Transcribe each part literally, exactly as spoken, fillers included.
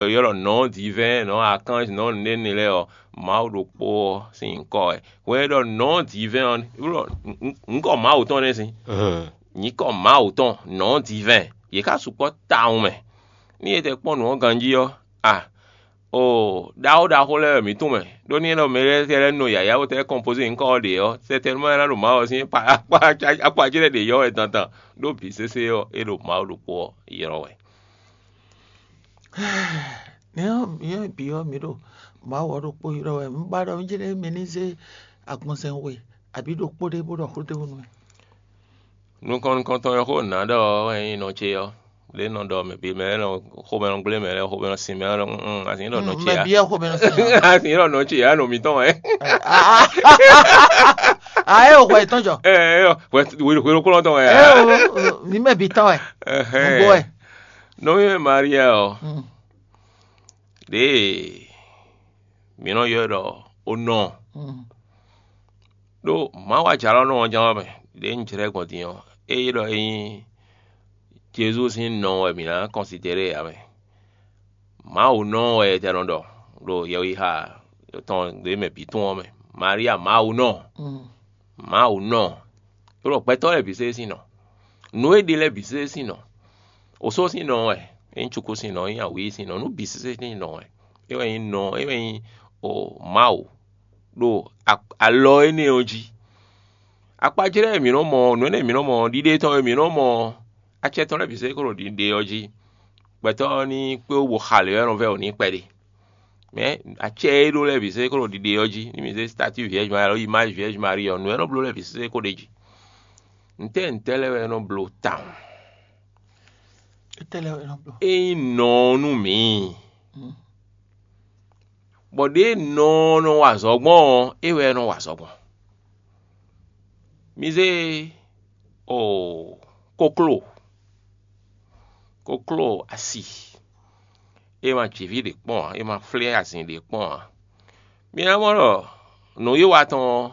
ylɔ́ nɔ̌ divɛ́n, nɔ̌ akánj, nɔ̌ nǔɖé lɛ́ɛ ɔ́, Mawu ɖokpó ɔ́ sín nyǐkɔ wɛ. Hwɛ e ɖɔ nɔ̌ divɛ́n ɔ́, ylɔ́ nyǐkɔ Mawu tɔn nɛ́ sín. Nyǐkɔ Mawu tɔn nɔ̌ divɛ́n, yě ká sukpɔ́ tawun mɛ. Ní e tɛ kpɔ́n nǔ ɔ́ ganjí ɔ́, a, o ɖaxó ɖaxó lɛ́ɛ wɛ mǐ tunwun mɛ, ɖó ní é ɖɔ mɛ lɛ́ɛ lɛ́ɛ nɔ yǎyá bó tɛ́ kɔnpozé nyǐkɔ ɔ́ ɖě ɔ́, sɛtɛnumɔ é ná ɖo Mawu ɔ́ sín akpá ce lɛ́ɛ ɖě ylɔ́ wɛ dandan, ɖó bǐ sésé ɔ́, é ɖo Mawu ɖokpó ɔ́ ylɔ́ wɛ. Nɛ̌ ɔ́, mǐ bǐ ɔ́, mǐ ɖo Mawu ɔ́ ɖokpó ylɔ́ wɛ. Un ba ɖɔ mǐ jlɛ́ mɛ ní zé agbɔnzɛn we abǐ ɖokpó ɖé bó ɖɔ xó ɖé wú nú mì. Nukɔn nukɔntɔn e xó nǎ ɖɔ ɔ́ wɛ nyí nɔ ce ɔ́. Lě nɔ ɖɔ mɛ bǐ mɛ lɛ́ɛ nɔ xomɛ nɔ gblé mɛ lɛ́ɛ xomɛ nɔ sin mɛ lɛ́ɛ nɔ, mm, mm, azǐn ɖɔ nɔ ce mɛ ǎ. Bia xomɛ nɔ sin. Azǐn ɖɔ nɔ ce ǎ, nɔ mǐtɔn wɛ. A ɛ o hwɛ tɔn jɔ. Ɛ ɛ hwɛ hwelokplɔn tɔn wɛ. Ɛ o, mi mɛ bi tɔn wɛ. Ɛhɛn. Nugbo wɛ. Nɔví mɛ Maria ɔ́, ɖěe mǐ nɔ ylɔ́ ɖɔ onɔ. Ɖó Mawu ajalɔ́nɔ ɔ́ ján wɛ mɛ, ɖě un jlɛ́ gbɔn din ɔ́, ée ɖɔ é nyí Jezu sín nɔ wɛ mǐ ná kɔnsidéɖe ǎ mɛ. Mawu nɔ wɛ è tɛ nɔ ɖɔ ɖo yɛwixa tɔn ɖě mɛ bǐ tɔn ɔ́ mɛ. Maria Mawu nɔ. Mawu nɔ. É ɖɔ gbɛtɔ́ lɛ́ɛ bǐ sésé sín nɔ. Nǔ e ɖe lɛ́ɛ bǐ sésé sín nɔ. Osó sín nɔ wɛ, é nyí cukú sín nɔ, é nyí awǐi sín nɔ, nǔ bǐ sésé sín nɔ wɛ. É wɛ nyí nɔ, é wɛ nyí o Mawu ɖo alɔ énɛ́ ɔ́ jí. Akpajlɛ́ e mǐ nɔ mɔ, nǔ énɛ́ e mǐ nɔ mɔ, ɖiɖe tɔn e mǐ nɔ mɔ, acɛ tɔn lɛ́ɛ bǐ sésé kó ɖo ɖiɖe ɔ́ jí. Gbɛtɔ́ ɔ́ ní kpé wú bo xa lě ɔ́, é nɔ vɛ́ wǔ n'i kpɛɖé. Mɛ̌ acɛ e ɖó lɛ́ɛ bǐ sésé kó ɖo ɖiɖe ɔ́ jí, ní mǐ zé statue Vierge Marie alɔ image Vierge Marie ɔ́, nǔ e nɔ bló lɛ́ɛ bǐ sésé kó ɖ'é jí. Ntɛ́ ntɛ́ lɛ́ɛ wɛ é nɔ bló tawun? Étɛ́ lɛ́ɛ wɛ é nɔ bló? É nyí nɔ ɔ́ nú mǐ. Bɔ ɖěe nɔ ɔ́ nɔ wa azɔ̌ gbɔn ɔ́, é wɛ é nɔ wa azɔ̌ gbɔn. Mi zé o kokló, kokló asi, é ma jǐví ɖě kpɔ́n ǎ, é ma flɛ́ azin ɖě kpɔ́n ǎ. Mi ná mɔ ɖɔ nǔwiwa tɔn ɔ́,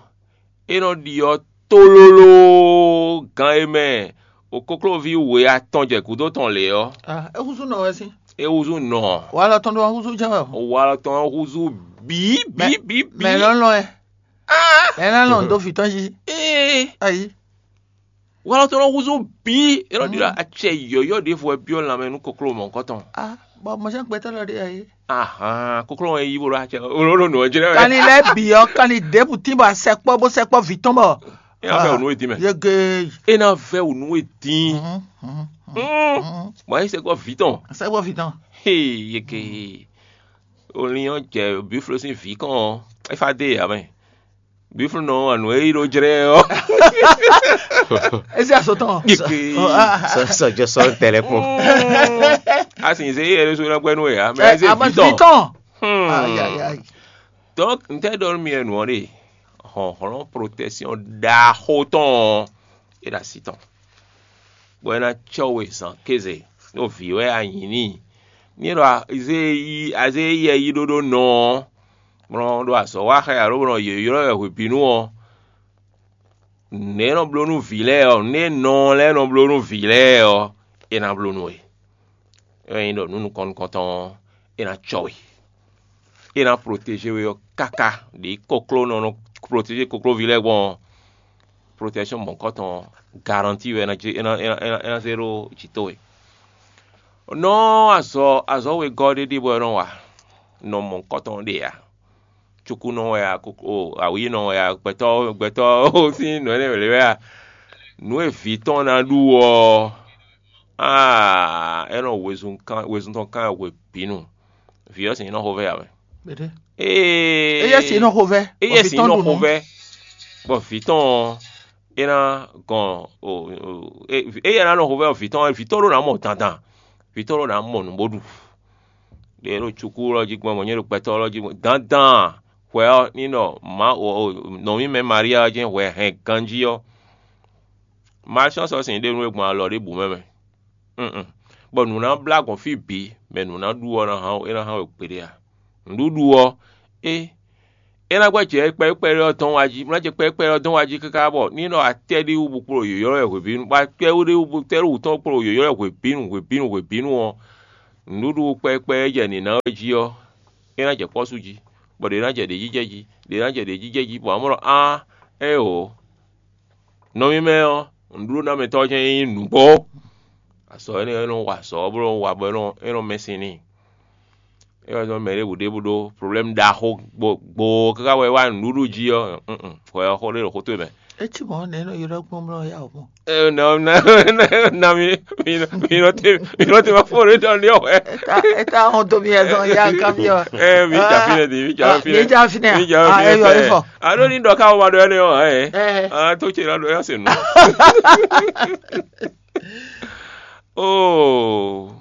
é nɔ ɖyɔ́ tlóló gan e mɛ o koklóví we atɔn jɛ gǔdo tɔn lě ɔ́. Ah, é húzú nɔ wɛ sín. É húzú nɔ. Walɔ tɔn ɖó húzú jɛ́n wɛ o. Walɔ tɔn húzú bǐ bǐ bǐ bǐ. Mɛ lɔ́nlɔn ɛ. Mɛ lɔ́nlɔn dó vǐ tɔn jí. Ee. Ayi. Walɔ tɔn húzú bǐ. É nɔ ɖi ɖɔ acɛ yɔ̌yɔ́ ɖěvo wɛ byɔ́ lanmɛ nú kokló mɔ̌hunkɔtɔn. Ah, bɔ mɔ̌ sɛ́n gbɛtɔ́ lɔ ɖe ayi. Ahan, kokló ɔ́ yí bó ɖo acɛ, ó ɖo nǔ ɔ́ jlɛ́ wɛ. Kanni lɛ́ɛ bǐ ɔ́, kanni ɖěbǔ tín bɔ a sɛkpɔ́ bó sɛkpɔ́ vǐ tɔn bɔ. É ná vɛ́ wǔ nú we dín mɛ. Yege. É ná vɛ́ wǔ nú we dín. Bɔ é sɛkpɔ́ vǐ tɔn. Sɛkpɔ́ vǐ tɔn. Hee, yeke. Olin ɔ́ jɛ bǐflo sín vǐ kɔn ɔ́, é fá dé yǎ mɛ. Bǐflo nɔ wa nǔ e yí ɖó jlɛ́ ɔ́. É sí aso tɔn. Yeke. Sɔjɔ sɔ tɛlɛ kpɔn. A sì zé yɛ ɖésú ná gbɛ́ nú we ǎ, mɛ ɛ zé vǐ tɔn. Tɔn. Ayayay. Donc, n tɛ ɖɔ nú mi wɛ nǔ ɔ́ ɖe, hlɔ̌nhlɔ́n protection ɖaxó tɔn ɔ́, é ɖo asi tɔn, bɔ é ná cɔ́ we zǎn kéze, ɖó vǐ wɛ a nyǐ n'i. Ní é ɖɔ azé yí azé yɛ yí ɖó ɖó nɔ ɔ́, bɔ nɔ ɖo azɔ̌ wa xá alo bɔ nɔ yǒylɔ́ wɛ hwebǐnu ɔ́, nǔ e nɔ bló nú vǐ lɛ́ɛ ɔ́, nǔ e nɔ lɛ́ɛ nɔ bló nú vǐ lɛ́ɛ ɔ́, é ná bló nú we. É wɛ nyí ɖɔ nǔ nukɔn nukɔntɔn ɔ́, é ná cɔ we. É ná protézé we ɔ́ káká ɖě kokló nɔ nɔ protézé koklóví lɛ́ɛ gbɔn ɔ́, protection mɔ̌hunkɔtɔn garanti wɛ é ná zé ɖó jǐ towe. Nɔ azɔ azɔ̌ wegɔ́ ɖé ɖíe bɔ é nɔ wa, nɔ mɔ̌hunkɔtɔn ɖe ǎ. Cukúnɔ wɛ a, awǐinɔ wɛ a, gbɛtɔ́ gbɛtɔ́ sín nǔ énɛ́ wě wɛ a, nǔ e vǐ tɔn ná ɖu ɔ́, aa, é nɔ wezun tɔn kán hwebǐnu. Vǐ ɔ́ sin nɔ xovɛ́ ǎ mɛ. Ee, éyɛ́ sin nɔ xovɛ́. Éyɛ́ sin nɔ xovɛ́. Bɔ vǐ tɔn ɔ́, é ná gɔn o, éyɛ́ ná nɔ xovɛ́ vǐ tɔn, vǐ tɔn ɖó ná mɔ dandan, vǐ tɔn ɖó ná mɔ nǔ bó ɖu. Ɖě ɖo cukú lɔ jí gbɔn, bɔ nyɛ ɖo gbɛtɔ́ lɔ jí gbɔn dandan. Hwɛ ɔ́, ní nɔ Mawu nɔví mɛ Maria ɔ́ jɛ́n hwɛ hɛn ganjí ɔ́, malchance ɔ́ sin ɖe nú e gbɔn alɔ ɖěbǔ mɛ mɛ. Bɔ nǔ ná blá gbɔn fí bǐ, mɛ nǔ ná ɖu ɔ́ ná hán é ná hán we gbeɖé a? Nǔɖuɖu ɔ́, é é ná gbɛ́ jɛ kpɛɖé kpɛɖé ɔ́ dɔn wá jí, ná jɛ kpɛɖé kpɛɖé ɔ́ dɔn wá jí káká bɔ ní nɔ atɛ́ ɖé wú bo kplɔ́n yǒyɔ́ wɛ hwebǐnu, bɔ atɛ́ ɖé wú bo tɛ́ ɖó wǔ tɔn kplɔ́n yǒyɔ́ wɛ hwebǐnu hwebǐnu hwebǐnu ɔ́, Nǔɖuɖu kpɛkpɛ e jɛ nǐ ná wɛ jí ɔ́, é ná jɛ kpɔ́ sú jí, bɔ ɖě ná jɛ ɖějijɛ jí, ɖě ná jɛ ɖějijɛ jí, bɔ amɔ̌ ɖɔ á, éeǒ, nɔ mímɛ́ ɔ́, nǔɖuɖu ná mɛtɔ́ ɔ́ jɛ́n nyí nǔgbó. Azɔ̌ énɛ́ ɔ́, é nɔ wa azɔ̌ ɔ́ bó nɔ wa bɔ é nɔ é nɔ mɛ sin n'i. É wɛ zɔ́n mɛ ɖěbǔ ɖěbǔ ɖó problɛ́mu ɖaxó gbogbo káká wɛ é wá nǔɖuɖu jí ɔ́, hwɛ ɔ́ xó ɖé ɖo xó towe mɛ. É cí mɔ̌ nɛ̌ nɔ ylɔ́ gbɔn mlɔ́ yá o mɔ? Na mi mi nɔ te mi nɔ te ma fɔ ɖé dɔn ní ɔwɛ. Eta hɔn to mi ɛzɔn ya nka mi ɔ. Ɛ mi jà fi nɛ di mi jà fi nɛ. Mi jà fi nɛ. Mi jà fi nɛ. Alo ní dɔ ká wọ́n ma ɖɔ ɛnɛ ɔ ɛ. Ɛ tó tse la ɖɔ ya se nù. Oo,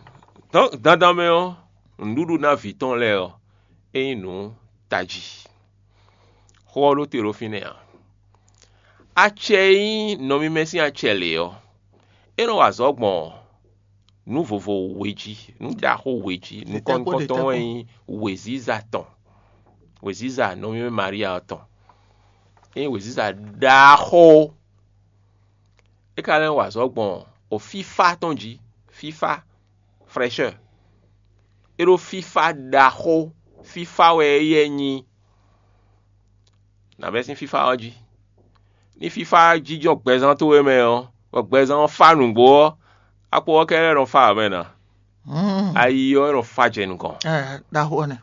dandan mɛ ɔ́, nǔɖuɖu ná vǐ tɔn lɛ́ɛ ɔ́, é nyí nǔ tají. Xó ɔ́ ɖó te ɖo fínɛ́ ǎ. Acɛ e nyí nɔ mímɛ́ sín acɛ lě ɔ́, é nɔ wa azɔ̌ gbɔn nǔ vovo we jí. Nǔ ɖaxó we jí. Nukɔn nukɔntɔn wɛ nyí wěziza tɔn. Wěziza nɔ mímɛ́ Maria ɔ́ tɔn. É nyí wěziza ɖaxó. É ka lɛ́ wa azɔ̌ gbɔn o fífá tɔn jí. Fífá, fraîcheur. É ɖó fífá ɖaxó. Fífá wɛ éyɛ́ nyí. Nǎ bɛ́ sín fífá ɔ́ jí. Ní fífá jínjɔ́n gbɛzán towe mɛ ɔ́, bɔ gbɛzán ɔ́ fá nǔgbó ɔ́, akpo ɔ́ kɛ́ɖɛ́ nɔ fá ǎ mɛ ná. Ayi ɔ́ nɔ fá jɛ nukɔn. Ɖaxó ɔ́ nɛ.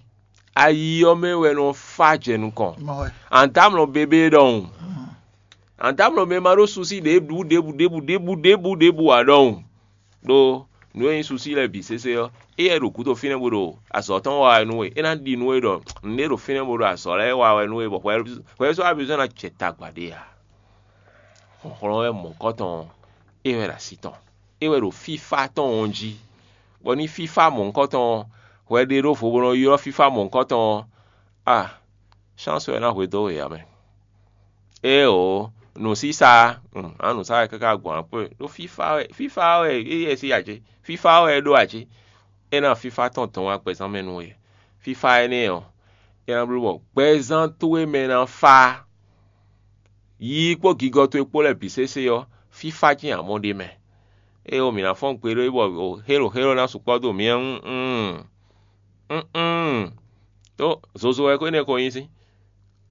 Ayi ɔ́ mɛ wɛ nɔ fá jɛ nukɔn. Mɔ wɛ. Andámlɔ bébé ɖɔhun. Andámlɔ mɛ ma ɖó susi ɖěbǔ ɖěbǔ ɖěbǔ ɖěbǔ ɖěbǔ ɖěbǔ ǎ ɖɔhun. Ɖó nǔ e nyí susi lɛ́ɛ bǐ sésé ɔ́, éyɛ́ ɖo gǔdo fínɛ́ bó ɖo azɔ̌ tɔn wa wɛ nú we. É ná ɖi nú we ɖɔ nǔɖé ɖo fínɛ́ bó ɖo azɔ̌ lɛ́ɛ wa wɛ nú we, bɔ hwɛ hwɛ sɔ́ abizɔ́ ná jɛ tagba ɖé ǎ. Hlɔ̌nhlɔ́n wɛ mɔ̌hunkɔtɔn ɔ́, é wɛ ɖo asi tɔn. É wɛ ɖo fífá tɔn ɔ́ jí, bɔ ní fífá mɔ̌hunkɔtɔn ɔ́, hwɛ ɖe ɖó vo bó nɔ ylɔ́ fífá mɔ̌hunkɔtɔn ɔ́, a chance wɛ ná hwedó we ǎ mɛ. Éeǒ, nǔsísá, ǎ nǔsá wɛ káká gbɔn akwɛ́ ɖó fífá wɛ fífá wɛ é yɛ sí ǎ cé? Fífá wɛ é ɖó ǎ cé? É ná fífá tɔn dɔn wá gbɛzán mɛ nú we. Fífá énɛ́ ɔ́, é ná bló bɔ gbɛzán towe mɛ ná fá. Yiyi kpó gigɔ towe kpó lɛ́ɛ bǐ sésé ɔ́, fífá jɛ́n amɔ̌ ɖ'é mɛ. Éeǒ, mǐ ná fɔ́n gbe ɖó é bɔ xélo xélo ná sukpɔ́ dó mǐ wú. Ún, ún, tó zozo wɛ ko énɛ́ ko nyí sín.